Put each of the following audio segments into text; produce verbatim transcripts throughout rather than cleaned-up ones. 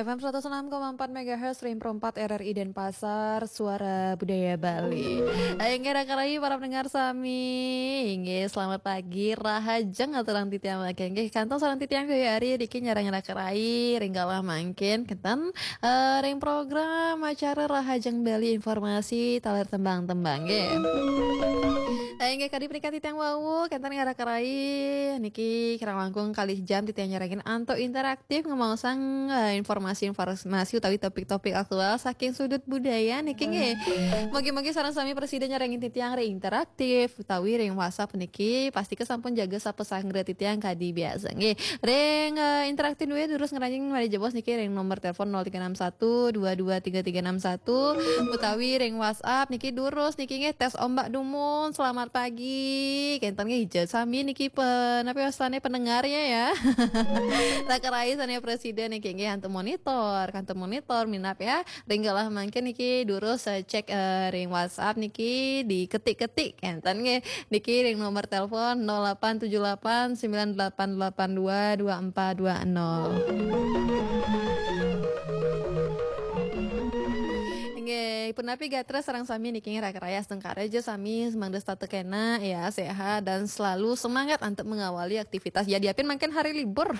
F M seratus enam koma empat megahertz, Ring Pro empat R R I Denpasar, Suara Budaya Bali. Inggih, rakan rayi para pendengar sami. Inggih, selamat pagi, rahajeng aturang titiang mangkin. Inggih, kantun sareng titiang Yoyo Ari niki nyarengin rakan rayi ring galah mangkin kenten, eh, ring program acara Rahajeng Bali, informasi taler tembang-tembang nggih. Eh, inggih, kadi punika titiang wau, kenten rakan rayi niki kirang langkung kalih jam titiang nyarengin antuk interaktif ngemaosang, eh, informasi-informasi utawi topik-topik aktual saking sudut budaya niki nggih. Mugi-mugi sareng sami prasida nyarengin titiang ring interaktif utawi ring WhatsApp niki, pastika sampun jaga sapasanggra titiang kadi biasa nggih. Ring, eh, interaktif duwe durus ngranjing malih jebos niki ring nomor telepon nol tiga enam satu dua dua tiga tiga enam satu utawi ring WhatsApp niki durus niki nggih, tes ombak dumun. Selamat pagi. Kenten nggih, ija sami niki pe-, napi wastane pendengarnya ya. Rakan rayi sane prasida niki nggih antuk monitor, kantuk monitor minab ya. Ring galah mangkin niki durus, eh, cek, eh, ring WhatsApp niki diketik-ketik kenten nggih. Niki ring nomor telepon nol delapan tujuh delapan sembilan delapan delapan dua dua empat dua nol. Nggih, punapi gatra sareng sami niki nggih rakan rayi, astungkara ja sami mangda setata kena ya, sehat dan selalu semangat untuk mengawali aktivitas. Ya, diapin mangkin hari libur.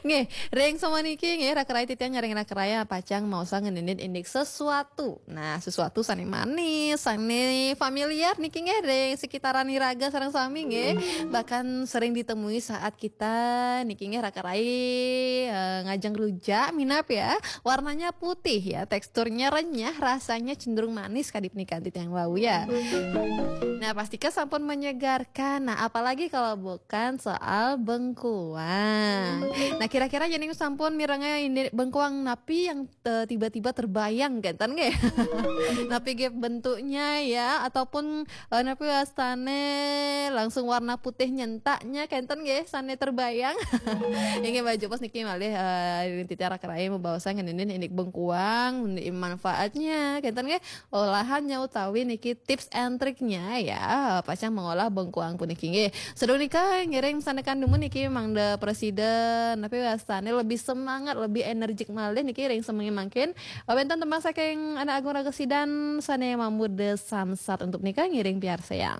Nggih, ring samaniki nggih rakan rayi titiang nyarengin rakan rayi pacang maosang ngeninin indik sesuatu. Nah, sesuatu sane manis, sane familiar niki nggih ring sekitaran iraga sareng sami nggih. Bahkan sering ditemui saat kita niki nggih rakan rayi, eh, ngajeng rujak minab ya. Warnanya putih ya, teksturnya renyah, rasanya cenderung manis kadi punika titiang wau ya. Nah, pastika sampun menyegarkan. Nah, apalagi kalau bukan soal bengkuang. Nah, kira-kira yening sampun mirenga indik bengkuang napi yang, eh, tiba-tiba terbayang kenten nggih. Napi nggih bentuknya ya, ataupun, eh, napi wastane langsung warna putih nyentaknya kenten nggih, sane terbayang. Inggih, malih jebos niki malih, eh, titiang rakan rayi mabaosan ngeninin indik bengkuang, indik manfaatnya kenten nggih, olahannya utawi niki tips and triknya ya, pacang mengolah bengkuang puniki nggih. Sadurung nika ngiring sandekan dumun niki mangda prasida napi wastane lebih semangat, lebih energik malih niki ring semengin mangkin. Wenten tembang saking Anak Agung Ragesidan sane mamuda Samsat, untuk nika ngiring piarsayang.